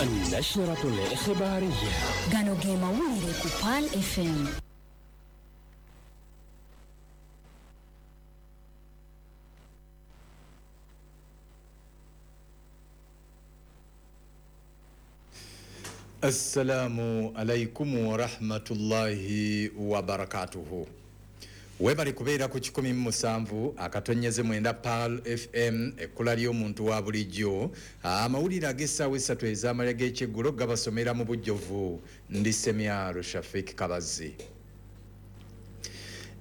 النشرة الإخبارية. Gano ge mawulire ku Pearl FM. Assalamu alaikum warahmatullahi wabarakatuhu. Webali kubeera ku 107.9 Pearl FM, ekkula ly'omuntu wa bulijjo. Amawulire ag'essaawa 3 ez'amalya g'ekyeggulo gabasomera mu bujjuvu. Ndi Semyalo Shafik Kabazi.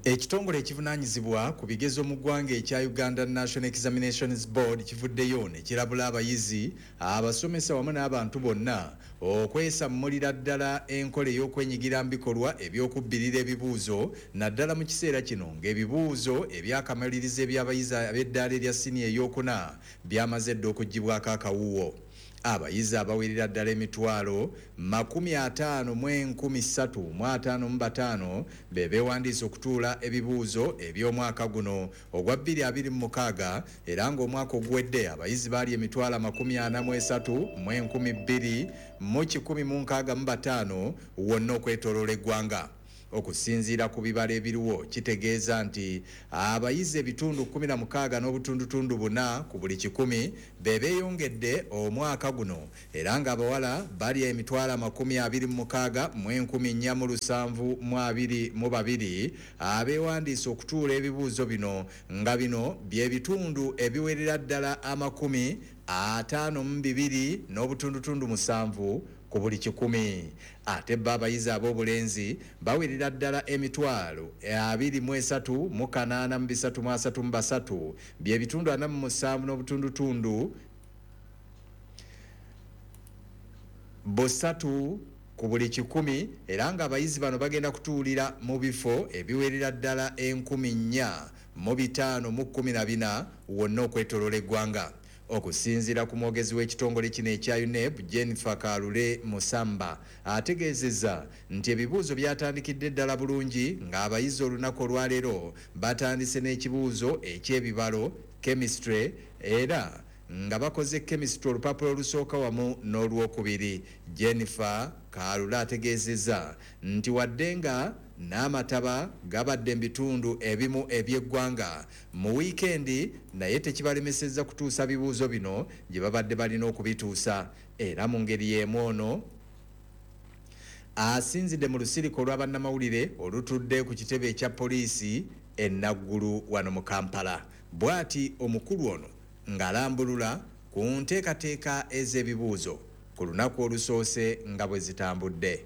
Ekitongole ekivunaanyizibwa ku bigezo mu ggwanga ekya Uganda National Examinations Board kivuddeyo ne kirabula abayizi, abasomesa wamu n'abantu bonna okwesammulira ddala enkola ey'okwenyigira mu bikolwa eby'okubbirira ebibuuzo, naddala mu kiseera kino ng'ebibuuzo ebyakamalirizo eby'abayizi ab'eddaala erya siniya ey'okuna byamaze dda okuggyibwako akawuwo. Abayizi abawerera ddala 553,055 be beewandiisa okutuula ebibuuzo eby'omwaka guno ogwa 2026, era ng'omwaka oguwedde abayizi baali 43,265 wonna okwetooloola eggwanga. Okusinziira ku bibalo ebiriwo kitegeeza nti abayizi ebitundu 16.4 ku buli 100 be beeyongedde omwaka guno, era ng'abawala bali 26,472 abeewandiisa okutuula ebibuuzo bino, nga bino by'ebitundu ebiwerera ddala 52.7 ku buli 100. Ate bo abayizi ab'obulenzi bawerera ddala 23,833 by'ebitundu 47.3 ku buli 100, era ng'abayizi bano bagenda kutuulira mu bifo ebiwerera ddala 4,514 wonna okwetooloola eggwanga. Okusinziira ku mwogezi w'ekitongole kino ekya UNEB, Jennifer Kalule Musamba, ategeezezza nti ebibuuzo byatandikidde ddala bulungi, ng'abayizi olunaku olwaleero batandise n'ekibuuzo eky'ebibalo chemistry, era nga bakoze chemistry olupapula olusooka wamu n'olwokubiri. Jennifer Kalule ategeezezza nti wadde nga n'amataba gabadde mu bitundu ebimu eby'eggwanga mu wiikendi, naye tekibalemesezza kutuusa bibuuzo bino gye babadde balina okubituusa. Era mu ngeri y'emu ono asinzidde mu lusirika olw'abannamawulire olutudde ku kitebe ekya poliisi e Naggulu wano mu Kampala. Bw'ati omukulu ono ng'alambulula ku nteekateeka ez'ebibuuzo ku lunaku olusoose nga bwe zitambudde.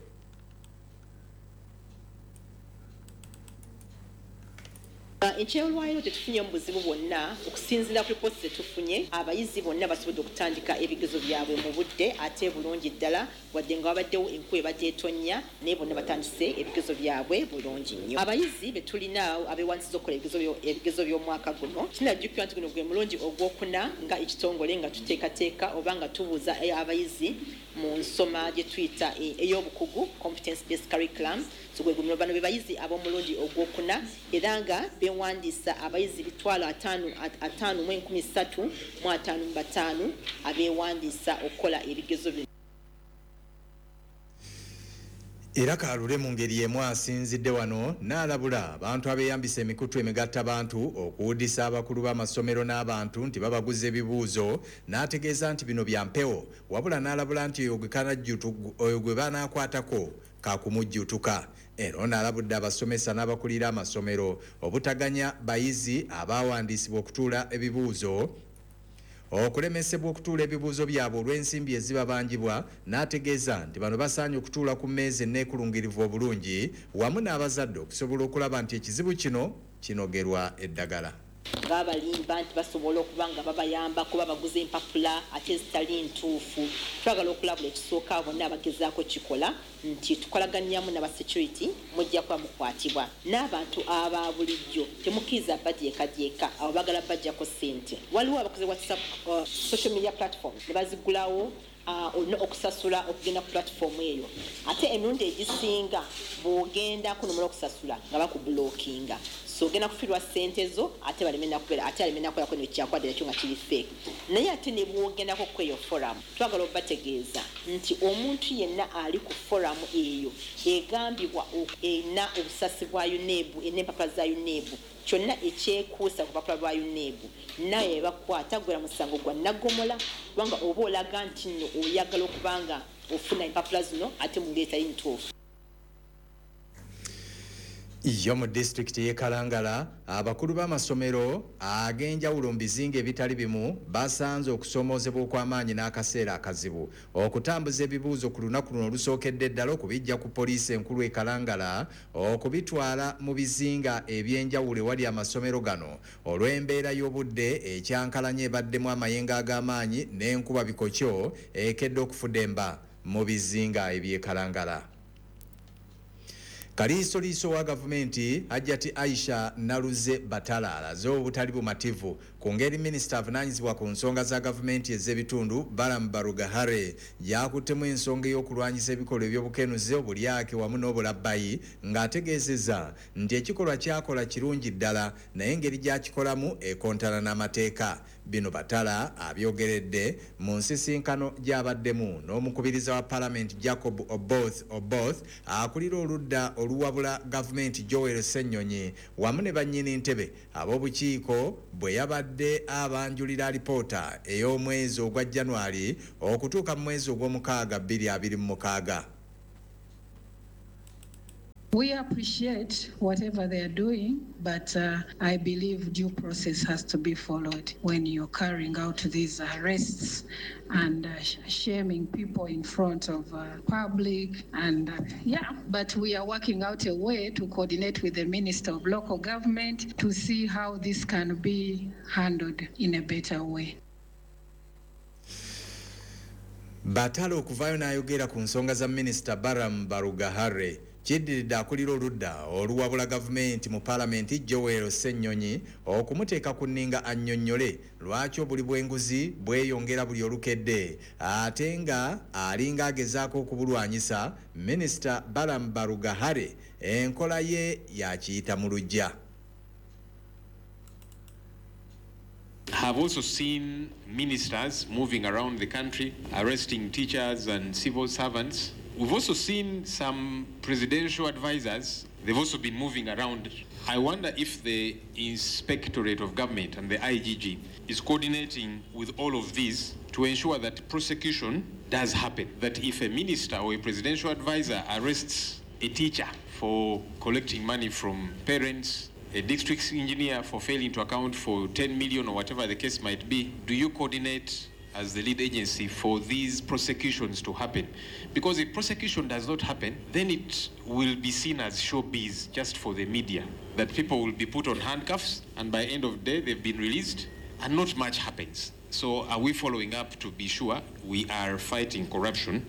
Ekyolwaliro tetufunye mu buzibu bwonna. Okusinziira ku ripooti zetufunye, abayizi bonna basobodde okutandika ebigezo byabwe mu budde ate bulungi ddala, wadde nga wabaddewo enkuba ebadde etonnya, naye bonna batandise ebigezo byabwe bulungi nnyo. Abayizi be tulina abeewandiisiza okukola ebigezo by'omwaka guno, kinajjukira nti guno gwe mulungi ogwokuna nga ekitongole nga tuteekateeka oba nga tubuuza abayizi mu nsoma gye tuyita ey'obukugu, competence based curriculum. So gwe guno bano be bayizi ab'omulundi ogwokuna, era nga beewandiisa abayizi 5,355 abeewandiisa okukola ebigezo bino. Era Kalule mu ngeri y'emu asinzidde wano n'alabula abantu abeeyambisa emikutu emigattabantu okuwuddisa abakulu b'amasomero n'abantu nti babaguza ebibuuzo, n'ategeeza nti bino bya mpewo, wabula n'alabula nti oyo gwe banaakwatako kakumujjutuka. Era ono alabudde abasomesa n'abakulira amasomero obutaganya bayizi abawandiisibwa okutuula ebibuuzo okulemesebwa okutuula ebibuuzo byabwe olw'ensimbi ezibabanjibwa, n'ategeeza nti bano basaanye okutuula ku mmeeza enneekulungirivu obulungi wamu n'abazadde okusobola okulaba nti ekizibu kino kinogerwa eddagala. Ng'abalimba nti basobola okuba nga babayambako babaguza empapula ate ezitali ntuufu. Twagala okulabula ekisooka bonna abagezaako kikola nti tukolaganyamu n'abasecurity, mujja kuba mukwatibwa. N'abantu aba bulijjo temukkiriza badyekadyeka, abo baagala bajjako ssente. Waliwo abakoze WhatsApp, social media platform ne bazigulawo Olina okusasula okugenda ku platform eyo, ate emirundi egisinga bw'ogendako nomala okusasula nga bakublockinga, so ogenda kufiirwa ssente zo, ate baleme nakubeera, ate aleme nakubeerako nekyakwadde nakyo nga kiri fake. Naye ate ne bw'ogendako kweyo forum, twagala obategeeza nti omuntu yenna ali ku forum eyo egambibwa erina obusasi bwa UNEB, n'empapula za UNEB, kyonna ekyekuusa ku lupapula lwa UNEB, naye bakwata gwera musango gwa naggomola, kubanga oba olaga nti nno oyagala okubanga ofuna empapula zino ate mu ngeri etali ntuufu. Yo mu disitulikiti y'e Kalangala, abakulu b'amasomero ag'enjawulo mu bizinga ebitali bimu basanze okusoomoozebwa okw'amaanyi n'akaseera akazibu okutambuza ebibuuzo ku lunaku luno olusookedde ddala okubijja ku poliisi enkulu e Kalangala okubitwala mu bizinga eby'enjawulo ewali amasomero gano olw'embeera y'obudde ekyankalanye ebaddemu amayengo ag'amaanyi n'enkuba bikokyo ekedde okufudemba mu bizinga eby'e Kalangala. Kaliisoliiso wa gavumenti Hajjati Aisha Naluze Batala alaze obutali bumativu ku ngeri minisita avunaanyizibwa ku nsonga za gavumenti ez'ebitundu Balaam Barugahare yakuttemu ensonga ey'okulwanyisa ebikolwa eby'obukenuzi, obulyake wamu n'obulabbayi, ng'ategeezezza nti ekikolwa kyakola kirungi ddala naye engeri gy'akikolamu ekontana n'amateeka. Bino Batala abyogeredde mu nsisinkano gy'abaddemu n'omukubiriza wa palamenti Jacob Oboth Oboth, akulira oludda oluwabula gavumenti Joel Ssenyonyi wamu ne bannyini ntebe ab'obukiiko bwe yabadde abanjulira alipoota ey'omwezi ogwa January okutuuka mu mwezi ogw'omukaaga 2026. We appreciate whatever they are doing, but I believe due process has to be followed when you're carrying out these arrests and shaming people in front of public. And but we are working out a way to coordinate with the Minister of Local Government to see how this can be handled in a better way. Batala okuvaayo n'ayogera ku nsonga za Minisita Balaam Barugahare kiddiridde akulira oludda oluwabula gavumenti mu palamenti Joel Ssenyonyi okumuteeka ku nninga annyonnyole lwaki obuli bw'enguzi bweyongera buli olukedde ate nga alinga agezaako okubulwanyisa. Minisita Balaam Barugahare enkola ye yakiyita mu luggya. Have also seen ministers moving around the country, arresting teachers and civil servants. We've also seen some presidential advisors. They've also been moving around. I wonder if the Inspectorate of Government and the IGG is coordinating with all of these to ensure that prosecution does happen. That if a minister or a presidential advisor arrests a teacher for collecting money from parents, a district engineer for failing to account for 10 million or whatever the case might be, do you coordinate as the lead agency for these prosecutions to happen? Because if prosecution does not happen, then it will be seen as showbiz just for the media, that people will be put on handcuffs and by end of day they've been released and not much happens. So are we following up to be sure we are fighting corruption?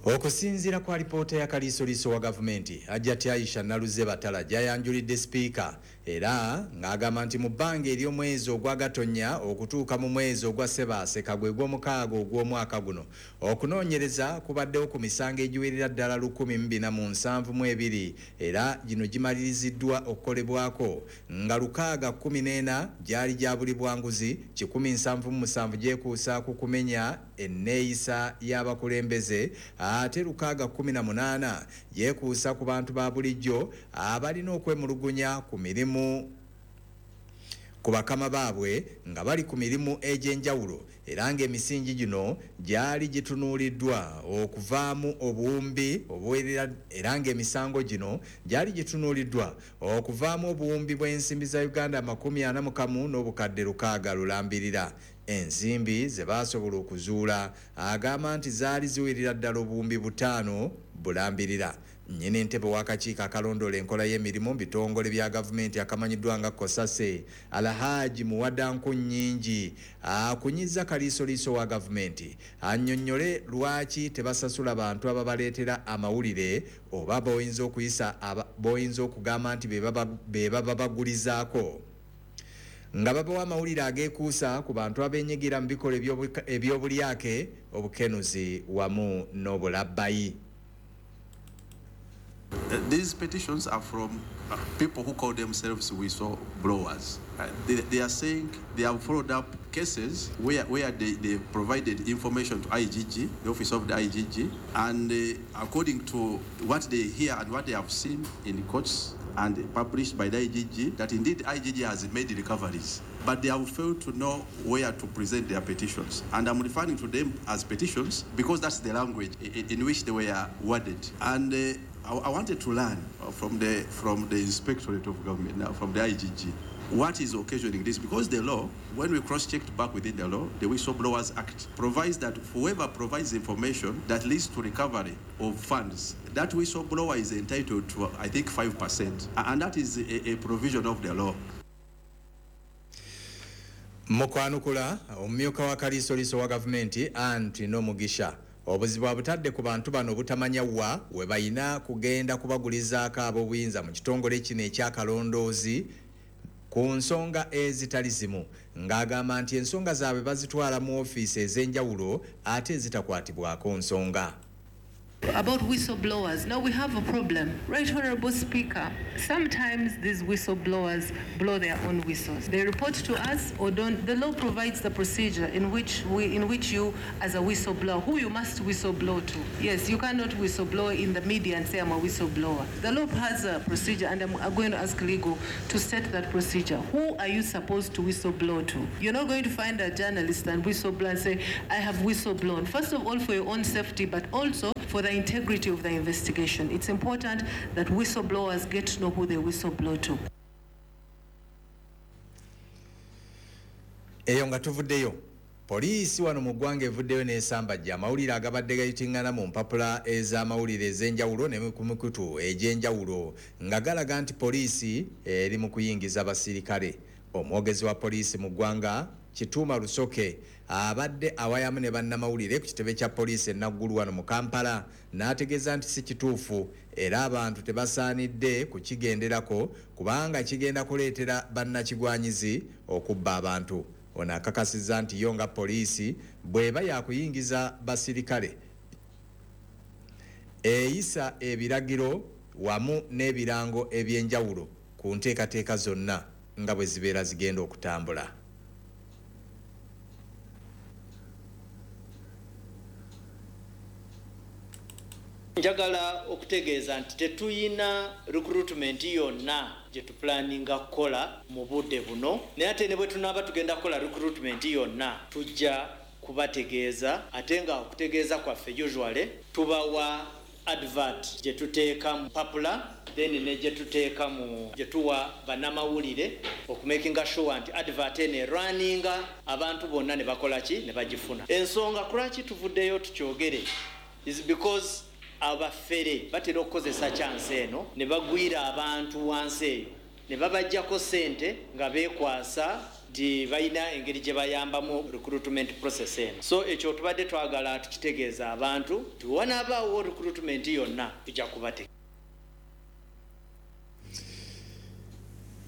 Okusinziira ku alipoota ya kaliisoliiso wa gavumenti Hajjati Aisha Naluze Batala gyayanjulidde sipiika, era ng'agamba nti mu bbanga ery'omwezi ogwa Gatonnya okutuuka mu mwezi ogwa Ssebaaseka gwe gw'omukaaga ogw'omwaka guno, okunoonyereza kubaddewo ku misango egiwerera ddala 1472, era gino gimaliriziddwa okukolebwako nga 614 gyali gya buli bwanguzi, 177 gyekuusa ku kumenya enneeyisa y'abakulembeze, ate 618 gyekuusa ku bantu ba bulijjo abalina okwemulugunya ku mirimu ku bakama baabwe nga bali ku mirimu egy'enjawulo, era ng'emisingi gino gyali gitunuuliddwa okuvaamu obuwumbi obuwerera, era ng'emisango gino gyali gitunuuliddwa okuvaamu obuwumbi bw'ensimbi za Uganda 41 n'obukadde 6 lulambirira. Ensimbi ze baasobola okuzuula agamba nti zaali ziwerera ddala obuwumbi 5 bulambirira. Nnyini ntebe w'akakiiko akalondoola enkola y'emirimu mu bitongole bya gavumenti akamanyiddwa nga Kosase, Alhaji Muwada Nkunnyingi, akunyiza kaliisoliiso wa gavumenti annyonnyole lwaki tebasasula bantu ababaleetera amawulire oba b'oyinza okugamba nti be baba bagulizaako. Nga babawa amawulire ageekuusa ku bantu abeenyigira mu bikolwa ebyobulyake, obukenuzi wamu n'obulabbayi. These petitions are from people who call themselves whistleblowers. They are saying they have followed up cases where they provided information to IGG, the office of the IGG, and according to what they hear and what they have seen in the courts and published by the IGG, that indeed IGG has made recoveries, but they have failed to know where to present their petitions. And I'm referring to them as petitions because that's the language in which they were worded. And I wanted to learn from the Inspectorate of Government, now from the IGG, what is occasioning this? Because the law, when we cross-checked back within the law, the Whistleblowers Act provides that whoever provides information that leads to recovery of funds, that whistleblower is entitled to, I think, 5%. And that is a provision of the law. Mukwanukula, omumyuka wa kaliisoliiso wa gavumenti Anti Nomugisha obuzibu abutadde ku bantu bano obutamanya wa we balina kugenda kubagulizaako ab'obuyinza mu kitongole kino ekyakalondoozi ku nsonga ezitali zimu, ng'agamba nti ensonga zaabwe bazitwala mu ofiisi ez'enjawulo ate ezitakwatibwako nsonga. About whistleblowers. Now we have a problem. Right, Honorable Speaker, sometimes these whistleblowers blow their own whistles. They report to us or don't. The law provides the procedure in which you, as a whistleblower, who you must whistleblow to. Yes, you cannot whistleblow in the media and say I'm a whistleblower. The law has a procedure, and I'm going to ask legal to set that procedure. Who are you supposed to whistleblow to? You're not going to find a journalist and whistleblow and say, I have whistleblown. First of all, for your own safety, but also for the integrity of the investigation. It's important that whistleblowers get to know who they whistleblow to. Eyo nga tuvuddeyo, poliisi wano mu ggwanga evuddeyo n'esambajja amawulire agabadde gayitingana mu mpapula ez'amawulire ez'enjawulo ne ku mikutu egy'enjawulo nga galaga nti poliisi eri mu kuyingiza abasirikale. Omwogezi wa poliisi mu ggwanga Kituuma Rusoke abadde awayamu ne bannamawulire ku kitebe kya poliisi e Naggulu wano mu Kampala n'ategeeza nti si kituufu era abantu tebasaanidde kukigenderako kubanga kigenda kuleetera bannakigwanyizi okubba abantu. Ono akakasizza nti yo nga poliisi bw'eba yakuyingiza basirikale eyisa ebiragiro wamu n'ebirango eby'enjawulo ku nteekateeka zonna nga bwe zibeera zigenda okutambula. Njagala okutegeeza nti tetuyina recruitment yonna gye tuplanninga kukola mu budde buno, naye ate ne bwe tunaaba tugenda kukola recruitment yonna tujja kubategeeza, ate nga okutegeeza kwaffe usually tubawa advert gye tuteeka mu papula, then ne gye tuteeka mu gye tuwa bannamawulire okumakinga sure nti advert eno erunninga abantu bonna ne bakola ki ne bagifuna. Ensonga kulwaki tuvuddeyo tukyogere is because abafere batera okukozesa chance eno ne bagwira abantu wansi eyo ne babajjako ssente nga beekwasa nti balina engeri gye bayambamu recruitment process eno. So ekyo tubadde twagala tukitegeeza abantu nti wanaabaawo recruitment yonna tujja kubategeeza.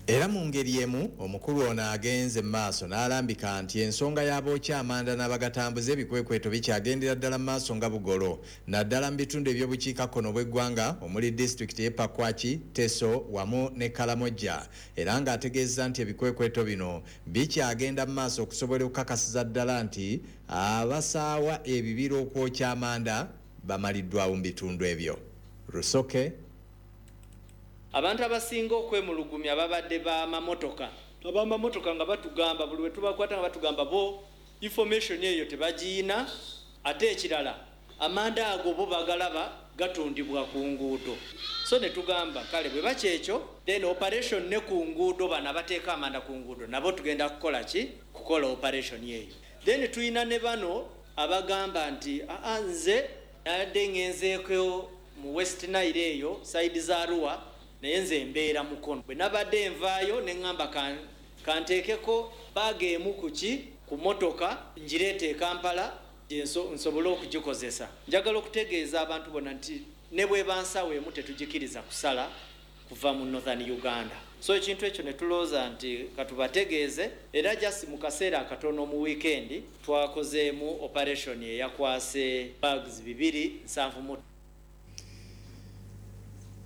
Era mu ngeri emu omukulu ono agenze mu maaso n'alambika nti ensonga y'abookya amanda n'abagatambuza ebikwekweto bikyagendera ddala mu maaso nga bugolo, naddala mu bitundu eby'obukiikakkono bw'eggwanga omuli disitulikiti y'e Pakwaki, Teso wamu ne Kalamojja, era ng'ategeeza nti ebikwekweto bino bikyagenda mu maaso okusobola okukakasiza ddala nti abasaawa ebibira okwokya amanda bamaliddwawo mu bitundu ebyo. Rusoke. Abantu abasinga okwemulugumya babadde b'amamotoka. Ab'amamotoka nga batugamba buli we tubakwata nga batugamba bo information eyo tebagiyina, ate ekirala amanda ago bo bagalaba gatundibwa ku nguudo. So ne tugamba kale bwe bakyekyo then operation ne ku nguudo bano abateeka amanda ku nguudo nabo tugenda kukola ki? Kukola operation eyo. Then tuyina ne bano abagamba nti aa nze nadde ngenzeeko mu West Nile eyo side za Arua naye nze mbeera Mukono. Bwe nabadde nvaayo ne ŋŋamba kanteekeko baaga emu ku ki ku motoka ngireete e Kampala nsobole okugikozesa. Njagala okutegeeza abantu bonna nti ne bw'eba nsawo emu tetugikiriza kusala kuva mu Northern Uganda. So ekintu ekyo ne tulowooza nti katubategeeze, era just mu kaseera akatono mu weekend twakozeemu operation eyakwase bags 270.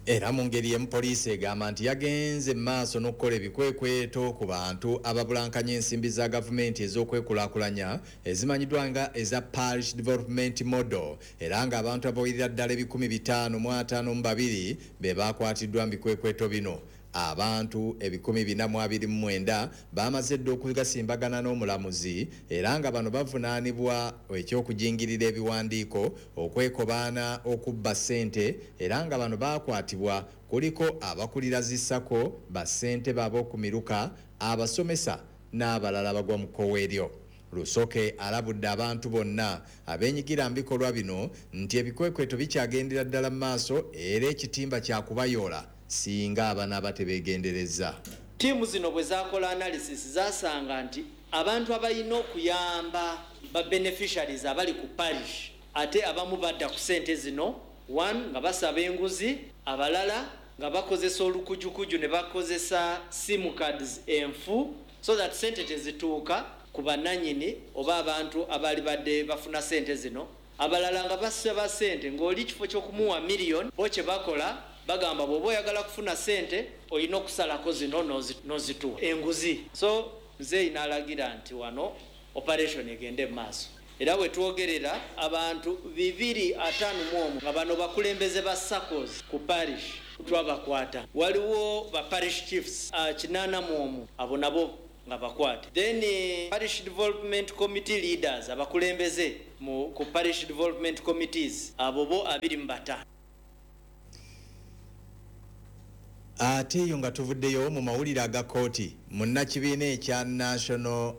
Era mu ngeri emu poliisi egamba nti yagenze maaso n'okukola ebikwekweto ku bantu ababulankanya ensimbi za gavumenti ez'okwekulaakulanya ezimanyiddwa nga eza Parish Development Model, era ng'abantu abawerera ddala 552 be bakwatiddwa mu bikwekweto bino. Abantu 429 bamaze dda okugasimbagana n'omulamuzi, era nga bano bavunaanibwa eky'okujingirira ebiwandiiko, okwekobaana okubba ssente, era nga bano bakwatibwa kuliko abakulira zisako, bassente b'ab'okumiruka, abasomesa n'abalala bagwa mu kkowe eryo. Lusoke alabudde abantu bonna abeenyigira mu bikolwa bino nti ebikwekweto bikyagendera ddala mu maaso, era ekitimba kyakubayoola singa abana tebeegendereza. Ttiimu zino bwe zakola analysis zasanga nti abantu abalina okuyamba ba beneficiaries abali ku parish ate abamu badda ku ssente zino, one nga basaba enguzi, abalala nga bakozesa olukujukuju ne bakozesa sim cards enfu so that ssente tezituuka ku bannannyini oba abantu abaali badde bafuna ssente zino. Abalala nga basaba ssente ng'oli kifo ky'okumuwa miliyoni, bo kye bakola bagamba bw'oba oyagala kufuna ssente olina okusalako zino n'ozituwa enguzi. So nzeeyi n'alagira nti wano operation egende mu maaso, era bwe twogerera abantu 251 nga bano bakulembeze ba SACCOs ku parish twabakwata. Waliwo ba parish chiefs 81 abo nabo nga bakwate. Then parish development committee leaders abakulembeze ku parish development committees abo bo 25. Ate eyo nga tuvuddeyo mu mawulire aga kkooti, munnakibiina ekya National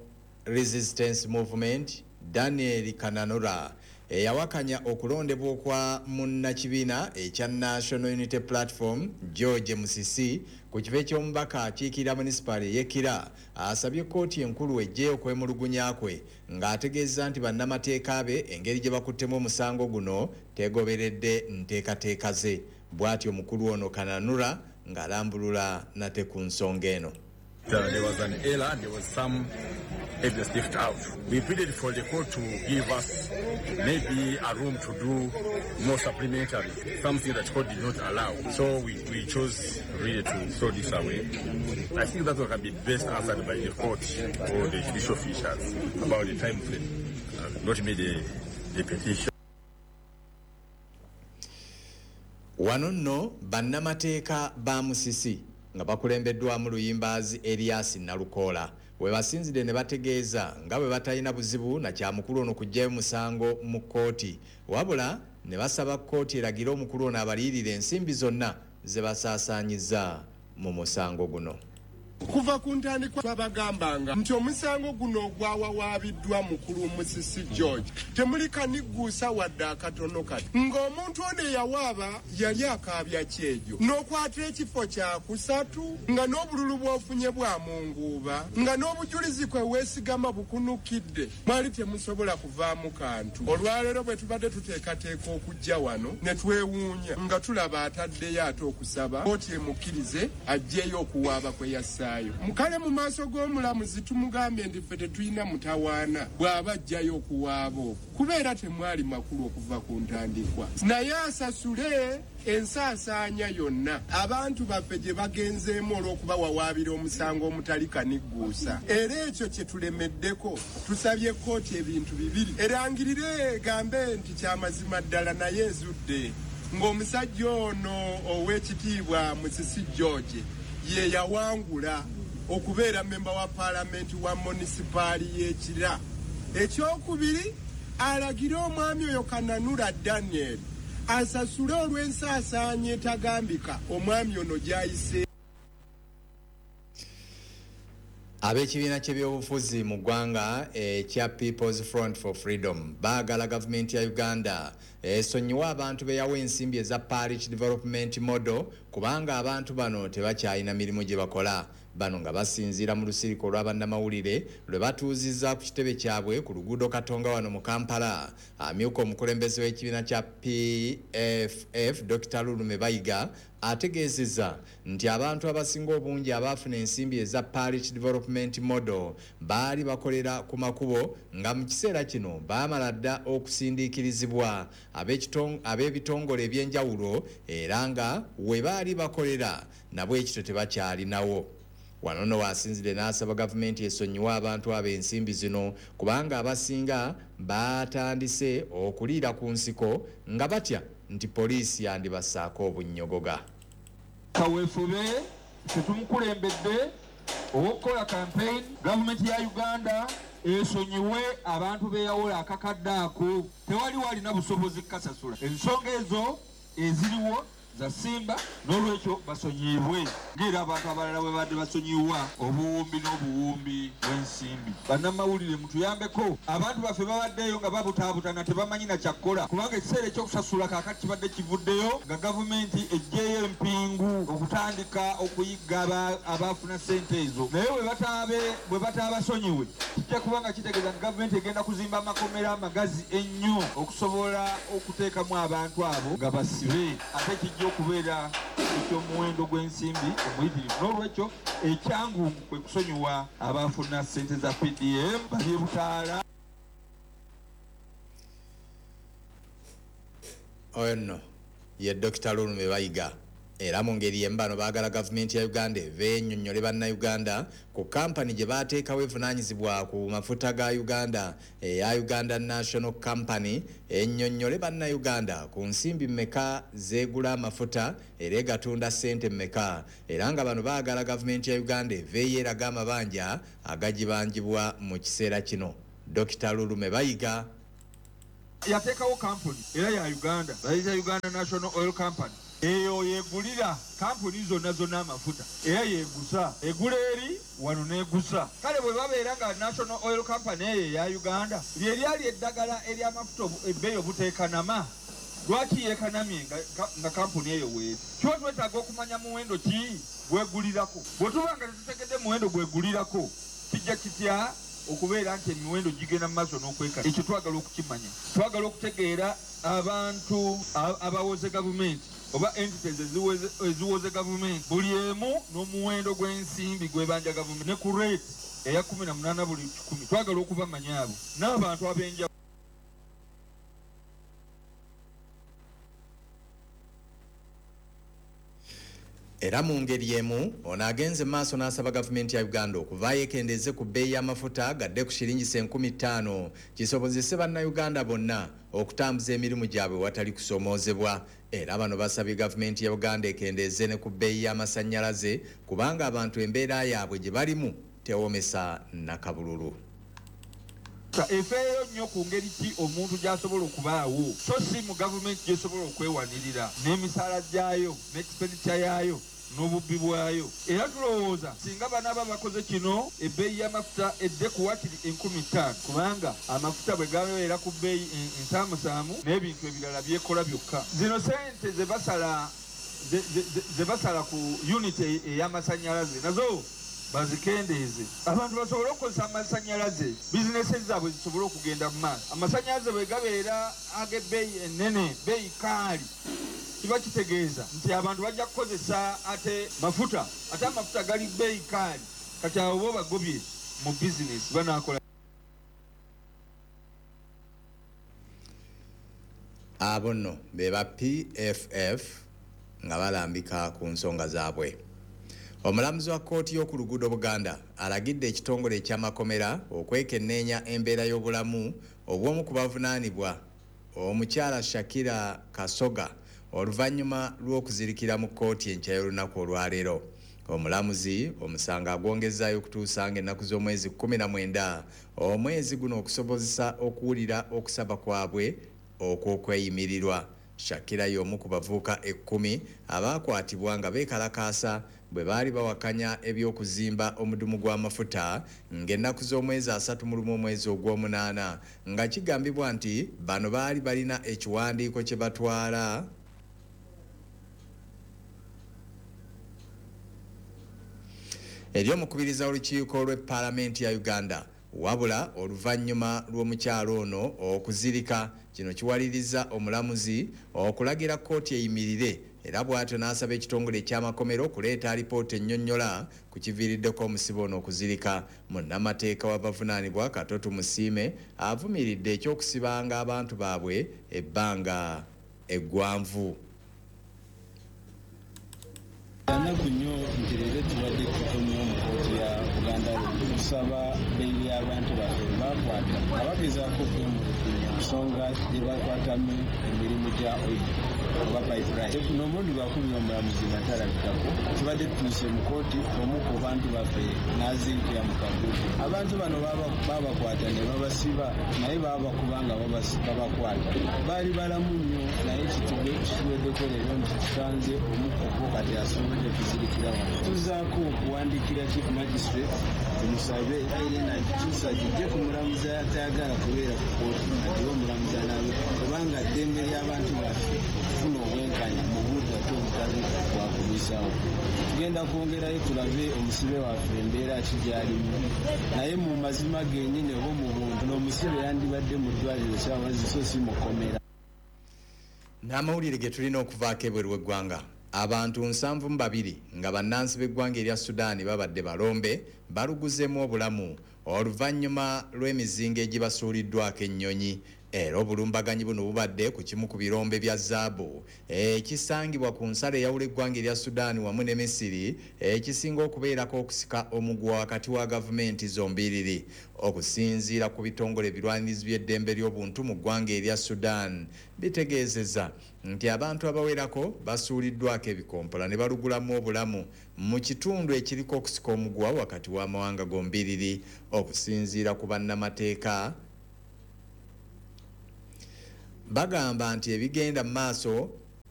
Resistance Movement Daniel Kananura eyawakanya okulondebwa okwa munnakibiina ekya National Unity Platform George Musisi ku kifo eky'omubaka akiikirira munisipaali ey'e Kira asabye kkooti enkulu eggyeyo okwemulugunya kwe ng'ategeeza nti bannamateeka be engeri gye bakuttemu omusango guno tegoberedde nteekateeka ze. Bw'atyo omukulu ono Kananura ng'alambulula nate ku nsonga eno. There was an error, there was some evidence left out. We pleaded for the court to give us maybe a room to do more supplementary, something that court did not allow. So we chose really to throw this away. I think that one can be best answered by the court or the judicial officials about the time frame, not made the petition. Wano nno bannamateeka ba Musisi nga bakulembeddwamu Luyimbazi Elias Nalukoola we basinzidde ne bategeeza nga bwe batalina buzibu na kyamukulu ono kuggyayo musango mu kkooti, wabula ne basaba kkooti eragire omukulu ono abaliyirire ensimbi zonna ze basaasaanyiza mu musango guno. Kuva ku ntandikwa twabagambanga nti omusango guno ogwawawaabiddwa mukulu Musisi George temuli kanigguusa wadde akatono kati, ng'omuntu ono eyawaaba yali akaabya kyejo n'okwata ekifo kyakusatu, nga n'obululu bw'ofunye bwa munguuba, nga n'obujulizi kwe weesigama bukunukidde, mwali temusobola kuvaamu kantu. Olwaleero bwe tubadde tuteekateeka okujja wano ne twewuunya nga tulaba ataddeyo ate okusaba kkooti emukkirize aggyeyo okuwaaba kwe yassa. Mukale mu maaso g'omulamuzi tumugambye nti ffe tetulina mutawaana bw'aba ajjayo okuwaaba okwo, kubeera temwali makulu okuva ku ntandikwa, naye asasule ensaasaanya yonna abantu baffe gye bagenzeemu olw'okuba wawaabira omusango omutali kanigguusa. Era ekyo kye tulemeddeko, tusabye kkooti ebintu bibiri: erangirire egambe nti kyamazima ddala naye ezudde ng'omusajja ono ow'ekitiibwa Musisi George ye yawangula okubeera memba wa paalamenti wa munisipaali y'e Kira. Ekyokubiri, alagire omwami oyo Kananura Daniel asasule olw'ensaasaanya etagambika omwami ono gy'ayise. Ab'ekibiina ky'ebyobufuzi mu ggwanga ekya People's Front for Freedom baagala gavumenti ya Uganda esonyiwe abantu be yawa ensimbi eza Parish Development Model kubanga abantu bano tebakyalina mirimu gye bakola. Bano nga basinziira mu lusirika olw'abannamawulire lwe batuuzizza ku kitebe kyabwe ku luguudo Katonga wano mu Kampala. Amyuka omukulembeze w'ekibiina kya PFF Dr. Lulume Bayiga ategeezezza nti abantu abasinga obungi abaafuna ensimbi eza Parish Development Model baali bakolera ku makubo nga mu kiseera kino baamala dda okusindiikirizibwa ab'ebitongole ebyenjawulo era nga we baali bakolera nabwe ekito tebakyalinawo. Wano nno waasinzidde n'asaba gavumenti esonyiwe abantu abo ensimbi zino kubanga abasinga baatandise okuliira ku nsiko nga batya nti poliisi yandibassaako obunnyogoga. Kaweefube tetumukulembedde ow'okukola campaign, gavumenti ya Uganda esonyiwe abantu beeyawola akakadde ako, tewali walina busobozi kukasasula. Ensonga ezo eziriwo za Simba n'olwekyo basonyiibwe ng'era abantu abalala bwe badde basonyiwa obuwumbi n'obuwumbi bw'ensimbi. Bannamawulire mutuyambeko, abantu baffe babaddeyo nga babutaabutana tebamanyi na kyakkola kubanga ekiseera ekyokusasula kaakati kibadde kivuddeyo nga gavumenti eggyeyo empingu okutandika okuyigga abaafuna ssente ezo, naye bwe bataabasonyiwe kijja kubanga kitegeeza nti gavumenti egenda kuzimba amakomera amagazi ennyo okusobola okuteekamu abantu abo nga basibe, ate kijja okubeera eky'omuwendo gw'ensimbi omuyitirivu. N'olwekyo ekyangu kwe kusonyiwa abaafuna ssente za PDM bali butaala. Oyo nno ye Dr. Lulume Bayiga. Era mu ngeri y'emu bano baagala gavumenti ya Uganda eveeyo ennyonnyole bannayuganda ku kampani gye baateekawo evunaanyizibwa ku mafuta ga Uganda eya Uganda National Company ennyonnyole bannayuganda ku nsimbi mmeka zeegula amafuta era egatunda ssente mmeka, era nga bano baagala gavumenti ya Uganda eveeyo eraga amabanja agagibanjibwa mu kiseera kino. Dr. Lulume Bayiga yateekawo kampuni era ya Uganda, bayita Uganda National Oil Company. Eyo yegulira kampuni zonna zonna amafuta era yegusa, egula eri wano n'egusa. Kale bwe babeera nga National Oil Company eyo eya Uganda lye lyali eddagala ery'amafuta ebbeeyi obuteekanama, lwaki yeekanamye nga kampuni eyo weeri? Kiba twetaaga okumanya muwendo ki gwegulirako. Bwe tuba nga tetutegedde muwendo gwegulirako, kijja kitya okubeera nti emiwendo gigenda mu maaso n'okwekana? Ekyo twagala okukimanya. Twagala okutegeera abantu abawoze gavumenti oba entities eziwoze gavumenti buli emu n'omuwendo gw'ensimbi gw'ebanja gavumenti ne ku rate eya 18 buli 1. Twagala okubamanya abo n'abantu ab'enjawulo. Era mu ngeri emu ono agenze maaso n'asaba gavumenti ya Uganda okuvaayo ekendeeze ku bbeeyi y'amafuta gadde ku shilingi 5,000 kisobozese bannayuganda bonna okutambuza emirimu gyabwe watali kusoomoozebwa. Era bano basabye gavumenti ya Uganda ekendeeze ne ku bbeeyi y'amasannyalaze kubanga abantu embeera yaabwe gye balimu tewomesa nakabululu. Efeeyo nnyo ku ngeri ki omuntu gy'asobola okubaawo, so si mu gavumenti gy'esobola okwewanirira n'emisaala gyayo n'expenditure yaayo n'obubbi bwayo. Era tulowooza singa banaaba bakoze kino ebbeeyi y'amafuta edde ku wakiri 5,000 kubanga amafuta bwe gabeera ku bbeeyi ensaamusaamu n'ebintu ebirala byekola byokka. Zino ssente ze basala ku unit ey'amasannyalaze nazo bazikendeeze, abantu basobole okukozesa amasannyalaze, bizinesi zaabwe zisobole okugenda mu maaso. Amasannyalaze bwe gabeera ag'ebbeeyi ennene, bbeeyi kaali, kiba kitegeeza nti abantu bajja kukozesa ate mafuta, ate amafuta gali bbeeyi kaali. Kati abo bo bagobye mu bizinesi banaakola. Abo nno be ba PFF nga balambika ku nsonga zaabwe. Omulamuzi wa kkooti y'oku luguudo Buganda alagidde ekitongole eky'amakomera okwekenneenya embeera y'obulamu obw'omu ku bavunaanibwa omukyala Shakira Kasoga oluvannyuma lw'okuzirikira mu kkooti enkya y'olunaku olwaleero. Omulamuzi omusango agwongezaayo okutuusa ng'ennaku z'omwezi 19 omwezi guno okusobozesa okuwulira okusaba kwabwe okw'okweyimirirwa. Shakira y'omu ku bavubuka 10 abaakwatibwa nga beekalakaasa bwe baali bawakanya eby'okuzimba omudumu gw'amafuta ng'ennaku z'omwezi 31 omwezi ogw'omunaana nga kigambibwa nti bano baali balina ekiwandiiko kye batwala Eri omukubiriza w'olukiiko lw'e Paalamenti ya Uganda. Wabula oluvannyuma lw'omukyalo ono okuzirika, kino kiwaliriza omulamuzi okulagira kkooti eyimirire, era bw'atyo n'asaba ekitongole ekyamakomero okuleeta alipoota ennyonnyola ku kiviiriddeko omusibe ono okuzirika. Munnamateeka w'abavunaanibwa, Kato Tumusiime, avumiridde ekyokusibanga abantu baabwe ebbanga eggwanvu. Kyannaku nnyo nti leero tubadde tukomyewo mu kkooti ya Buganda Road okusaba beyiri y'abantu baffe be bakwata nga bagezaako okwemulugunya ku nsonga gye bakwatamu emirimu gya oil oba pipeline. Guno omulundi gwakubiri omulamuzi nga talabikako. Tubadde tutuuse mu kkooti, omu ku bantu baffe n'azirikira mu kaguudu. Abantu bano babakwata ne babasiba, naye babakuba nga babakwata. Baali balamu nnyo, naye kituweddeko leero nti tusanze omu ku bo kati asobodde kuzirikira wano. Tuzaako okuwandiikira Chief Magistrate tumusabe Irene agikyusa agijje ku mulamuzi atayagala kubeera ku kkooti, agiwe omulamuzi anaabe, kubanga ddembe ly'abantu baffe okufuna obwenkanya mu budde ate obutali bwakulwisawo. Tugenda kwongerayo tulabe omusibe waffe embeera ki gy'alimu, naye mu mazima gennyini oba mu buntu n'omusibe yandibadde mu ddwaliro saawa so si mukomera. N'amawulire ge tulina okuvaako ebweru w'eggwanga, abantu 72 nga bannansi b'eggwanga erya Sudaani babadde balombe baluguzeemu obulamu oluvannyuma lw'emizinga egibasuuliddwako ennyonyi. Era obulumbaganyi buno bubadde ku kimu ku birombe bya zaabu ekisangibwa ku nsalo eyawula eggwanga erya Sudaani wamu ne Misiri, ekisinga okubeerako okusika omuguwa wakati wa gavumenti zombiriri. Okusinziira ku bitongole ebirwanirizi by'eddembe ly'obuntu mu ggwanga erya Sudan, bitegeezeza nti abantu abawerako basuuliddwako ebikompola ne balugulamu obulamu mu kitundu ekiriko okusika omuguwa wakati w'amawanga gombiriri. Okusinziira ku bannamateeka, bagamba nti ebigenda mu maaso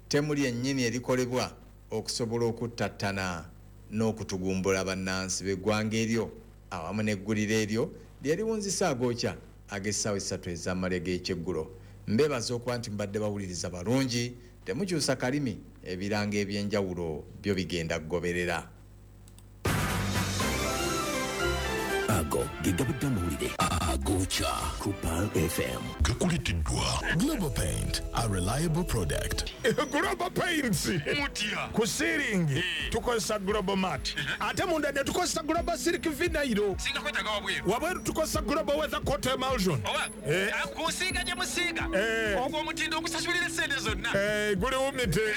temuli ennyini erikolebwa okusobola okuttattana n'okutugumbula bannansi b'eggwanga eryo. Awamu n'eggulire eryo lyeriwunzisa agookya ag'essaawa 3 ez'amalya g'ekyeggulo. Mbeebaza okuba nti mubadde bawuliriza balungi. Temukyusa kalimi, ebirango ebyenjawulo byo bigenda kugoberera. Ago ge gabadde amawulire agookya ku Pearl FM. Gakuleteddwa Global Paint, a reliable product. Global Paints. Mutya? Ku ceiling tukozesa Global Mat, ate munda ne tukozesa Global Silk Vinyl. Singa kwetaaga wabweru? Wabweru tukozesa Global Weather Coat Emulsion. Oba kusiiga gye musiiga, ogwo omutindo ogusasulira esente zonna. Guli wumite.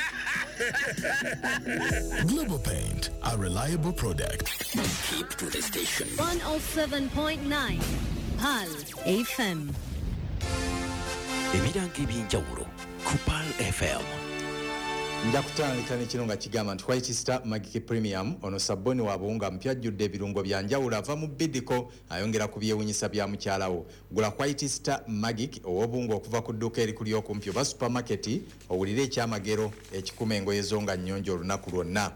Global Paint, a reliable product. Keep to the station. 107.9 Pearl FM. Ebirango ebyenjawulo ku Pearl FM. Nja kutandika nekino nga kigamba nti White Star Magic Premium, ono sabbuuni wa buwunga mpya ajjudde ebirungo bya njawulo, ava mu Bidiko, ayongera ku byewunyisa bya mukyalawo. Gula White Star Magic ow'obuwunga okuva ku dduuka erikuli okumpi oba supermarket, owulire ekyamagero ekikuma engoye zo nga nnyonjo olunaku lwonna.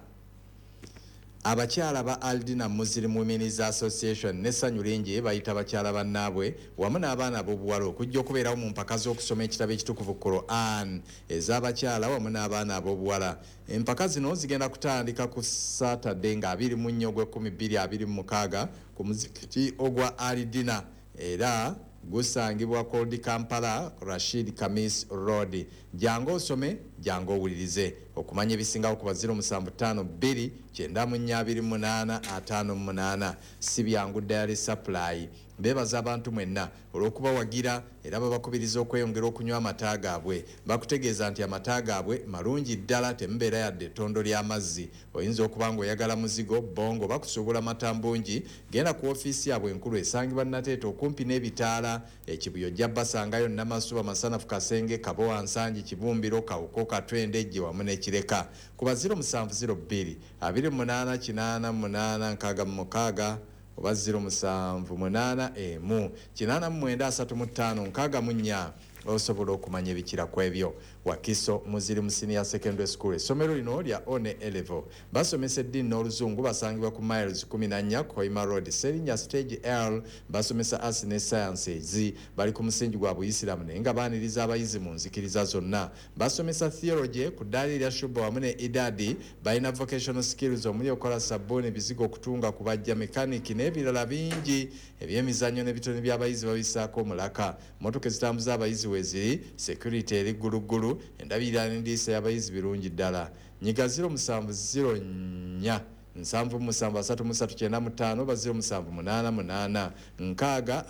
Abakyala ba Aldina Muslim Women's Association n'essanyu lingi bayita bakyala bannaabwe wamu n'abaana ab'obuwala okujja okubeerawo mu mpaka z'okusoma ekitabo ekitukuvu Quran ez'abakyala wamu n'abaana ab'obuwala. Empaka zino zigenda kutandika ku Saturday nga 24 ogw'e 2026 ku muzikiti ogwa Aldina, era gusangibwa Old Kampala, Rashid Kamis Road. Jangu osome, jangu owulirize. Okumanya ebisingawo kuba 0752 94 58. Si byangu. Dairy Supply beebaza abantu mwenna olw'okubawagira, era babakubiriza okweyongera okunywa amata gaabwe. Bakutegeeza nti amata gaabwe malungi ddala, temubeera yadde ettondo ly'amazzi. Oyinza okuba ng'oyagala muzigo, bongo, bakusuubula mata mbungi. Genda ku ofiisi yaabwe enkulu esangibwa Nateete okumpi n'ebitaala ekibuyo, ojja basangayo. Namasuba, Masanafu, Kasenge, Kabowa, Nsangi, Kibumbiro, Kawuko, Katwende, Ejje wamu n'Ekireka. Kuba 0702 28 88 66 oba 078 1 89 35 64. Osobola okumanya ebikira ku ebyo. Wakiso Muzirimu Senior Secondary School, essomero lino lya one A level, basomesa eddiini n'Oluzungu. Basangibwa ku Miles 14 Koima Road, Serinya Stage L. Basomesa arts ne sciences. Bali ku musingi gwa Buyisiramu, naye nga baaniriza abayizi mu nzikiriza zonna. Basomesa theology ku ddaala erya shuba wamu ne idadi. Balina vocational skills omuli okukola sabbuuni, bizigo, okutunga, kubajja, mekaniki n'ebirala bingi. Ebyemizannyo n'ebitone by'abayizi babisaako omulaka. Motoka ezitambuza abayizi weeziri, security eri gguluggulu, endabirira n'endiisa y'abayizi birungi ddala. Nyiga 0704 77 33 95 oba 0788 60 43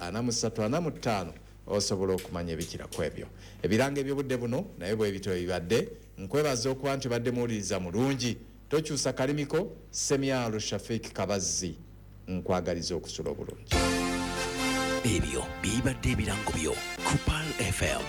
45, osobola okumanya ebikira ku ebyo. Ebiranga ebyobudde buno naye bwe bityo bibadde. Nkwebaza okuba nti obadde muwuliriza mulungi, tokyusa kalimiko. Semyalo Shafik Kabazzi, nkwagaliza okusula obulungi. Ebyo bibadde ebirango byo ku Pearl FM.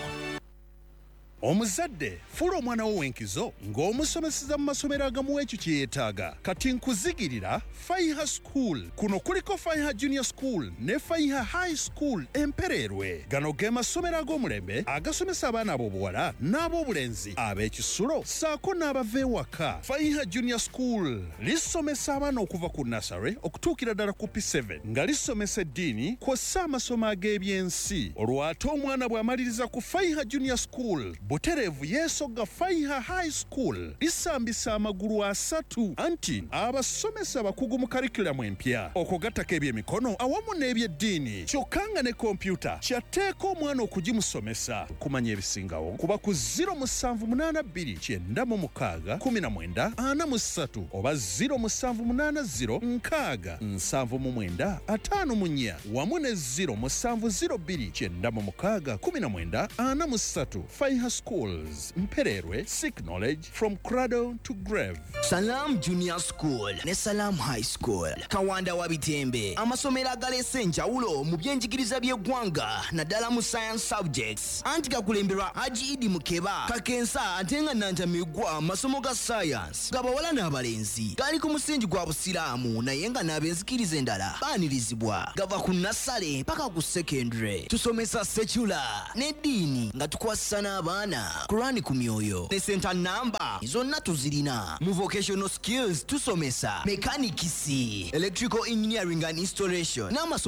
Omuzadde, fuula omwana wo w'enkizo ng'omusomeseza mu masomero agamuwa ekyo kye yeetaaga. Kati nkuzigirira Faiha School. Kuno kuliko Faiha Junior School ne Faiha High School Empereerwe. Gano ge masomero ag'omulembe agasomesa abaana ab'obuwala n'ab'obulenzi ab'ekisulo ssaako n'abava ewaka. Faiha Junior School lisomesa abaana okuva ku nursery okutuukira ddala ku P7, nga lisomesa eddiini kw'ossa amasomo ag'ebyensi. Olwo ate omwana bw'amaliriza ku Faiha Junior School, butereevu yeesogga Faiha High School. Lisambisa amagulu asatu, anti abasomesa abakugu mu curriculum empya, okugattako ebyemikono awamu n'ebyeddiini, kyokka nga ne kompyuta kyatteeka omwana okugimusomesa. Kumanya ebisingawo kuba ku 0782 96 19 43 oba 0780 60 79 54 wamu ne 0702 96 19 43. Faiha Schools Mpererwe, seek knowledge from cradle to grave. Salam Junior School ne Salam High School Kawanda wa Bitembe, amasomero agaleese enjawulo mu byenjigiriza by'eggwanga, naddala mu science subjects, anti gakulemberwa Haji Idi Mukeba Kakensa, ate nga nantamigwa masomo ga science gabawala n'abalenzi. Gali ku musingi gwa Busiraamu, naye nga n'abenzikiriza endala baanirizibwa. Gava ku nursery paka ku secondary. Tusomesa secular n'eddiini nga tukwasisa n'abaana Kurani ku myoyo, ne center namba zonna tuzirina. Mu vocational skills tusomesa mechanics, electrical engineering and installation n'amasomo.